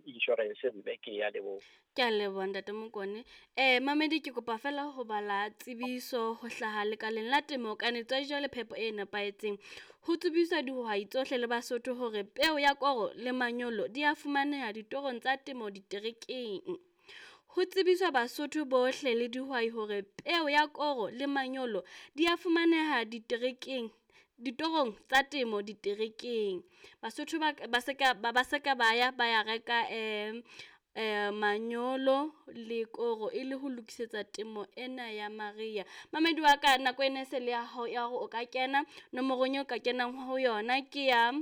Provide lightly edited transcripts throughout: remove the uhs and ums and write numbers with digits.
insurance mme ke ya leboha. Ke a leboha ntate Mokone. Mamedi ke kopa fela ho bala tsebiso ho hlaha lekaleng la temo kanetso ya dijo le phepo e nepahetseng. Ho tsebiswa dihwai tsohle le Basotho hore peo ya koro le manyolo di a fumaneha ditorong tsa temo diterekeng. Ho tsebiswa Basotho bohle le dihwai hore peo ya koro le manyolo di a fumaneha diterekeng ditorong tsa temo diterekeng. Basotho ba ba se ka ba se ka ba ya ba ya reka manyolo le koro e le ho lokisetsa temo ena ya mariha. Mamedi wa ka nako ena e se le ya hao ya hore o ka kena nomorong eo ka kenang ho yona ke ya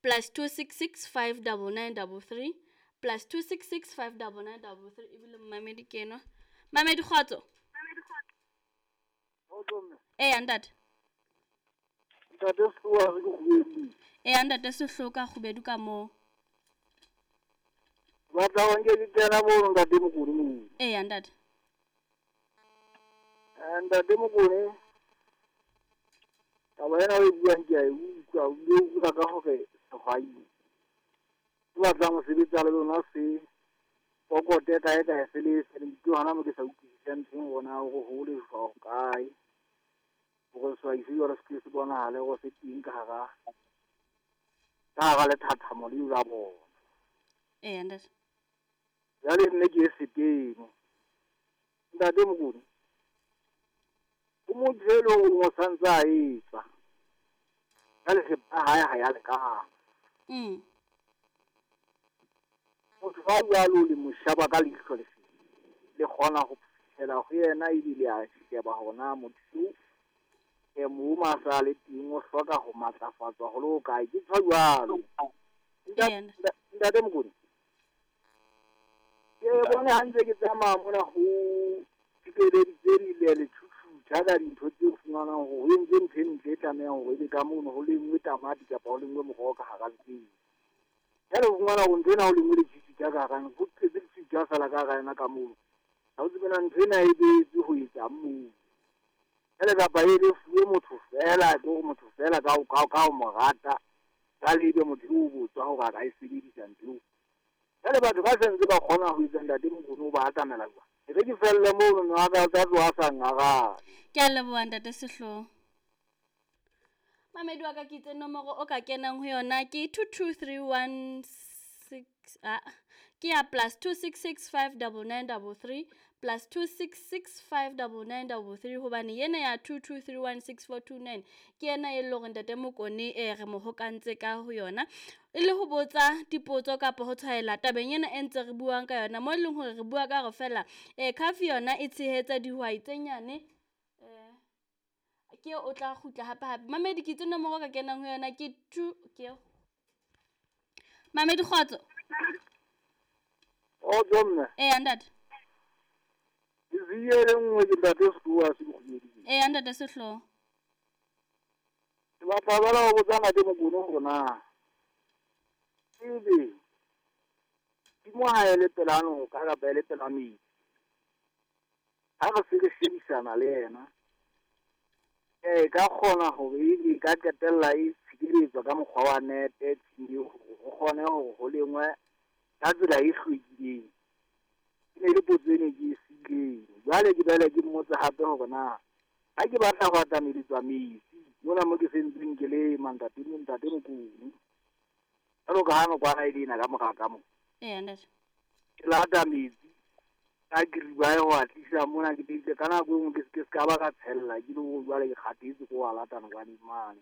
+266 5 99 33, +266 5 99 33. Ebile momamedi ke enwa. Mamedi, kgotso. Eya ntate. Ntate Sehloa, re ke Kgubedu. Eya ntate Sehloka, Kgubedu ka moo. Batla ho nke ke kena mono, ntate Mokone moo. Eya ntate. Ntate Mokone, taba ena o e buang ke a e utlwa, o bile o bua ka hore sehwai se batlang ho sebetsa le lona se pokote kae kae se le se ke hona mo ke sa utlwisisang teng hore na hore ho lejwa hokae hore sehwai se jwalo se ke se bonahale hore se teng ka hara lethathamo leo la bona. Eya ntate. Jwale nne ke e seteno, ntate Mokone, ho motho e leng hore o santse a etsa jwale thepa ya hae ha ya lekana. Motho a jwalo le mo sheba ka leihlo le feng, le kgona ho fihlela ho yena ebile a sheba hore na motho eo mo a sa le teng o hloka ho matlafatswa ho le hokae. Ke tjho jwalo. Ntate Mokone, ke bone ha ntse ke tsamaya mona ho tshireleditse le letjhutjhutha ka dintho tse fumanang hore ho entswe ntho e ntle e tlamehang hore ebe ka mono ho lengwe tamati kapa ho lengwe moroho ka hara ntlo. Jwale o fumana hore ntho ena ho lengwe letjhutjhutha ka hara, ho tletse letjhutjhutha feela ka hara yona ka mono. Ha o tsebe na ntho ena e behetswe ho etsang moo. Jwale kapa e le fuwe motho feela, ke hore motho feela ka ho mo rata, jwale ebe motho o botswa hore a ka e sebedisa ntho eo. Jwale batho ba sentse ba kgona ho etsa, ntate Mokone, o ba atamela jwang? E re ke felle mono, mme wa ka o tla tloha a sa nngarabe. Ke a leboha ntate Sehloho. Mamedi wa ka, ke itse nomoro o ka kenang ho yona ke 22316, ah, ke ya +266 599 33, +266 599 33, hobane yena ya 22316429 ke yena e leng hore ntate Mokone re mo hokantse ka ho yona e le ho botsa dipotso kapa ho tshwaela tabeng ena e ntse re buang ka yona, mo e leng hore re bua ka hore fela CAF yona e tshehetsa dihwai tse nyane. Ke o tla kgutla hape hape. Mamedi, ke itse nomoro o ka kenang ho yona ke two ke eo. Mamedi, kgotso. Kgotso mme. Eya ntate. Ke siye le nngwe, ke ntate Sehloa se Kgubedu. Eya ntate Sehloho. Ke batla jwale ho botsa ntate Mokone hore na ebe tshimo ha e le pela noka kapa e le pela metsi, ha re se re shebisana le yena, e ka kgona hore e ka qetella e tshireletswa ka mokgwa wa nete tshimo eo hore ho kgone hore ho lengwe ka tsela e hlwekileng? E ne le potso e ne ke e siileng. Jwale ke boele ke mmotse hape hore na ha ke batla ho atameletswa metsi mona mo ke sentseng ke lema, ntate Mokone, jwalo ka ha nokwana e le ena ka mora ka mo, Eya ntate. Ke lata metsi ka kiribae ho a tlisa mona, ke itse ka nako e nngwe ke se ka ba ka tshella ke le hore jwale ke kgathetse ke ho a lata nokwaneng mane,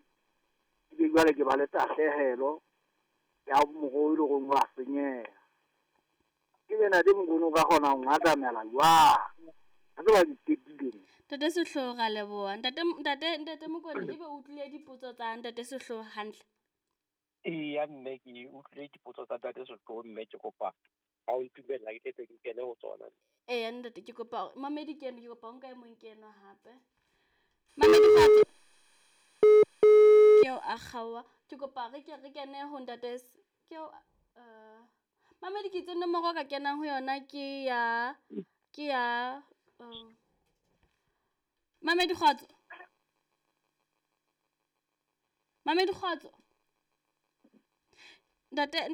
ebe jwale ke ba le tahlehelo ya moroho e leng hore wa senyeha. Ebe ntate Mokone o ka kgona ho ngatamela jwang? Ha tseba ke qetile. Ntate Sehloho, ra leboha. Ntate Mokone, ebe o utlwile dipotso tsa ntate Sehloho hantle? Eya mme, ke utlwile dipotso tsa ntate Sehloho mme, ke kopa ha o ntumella ke tle ke kene ho tsona. Eya ntate, ke kopa mamedi ke eno, ke kopa o nka e mong ke enwa hape. Mamedi, kgotso. Ke eo a kgaoha. Ke kopa re ke re kene ho ntate ke eo mamedi, ke itse nomoro o ka kenang ho yona ke ya mamedi, kgotso. Mamedi, kgotso. Ntate.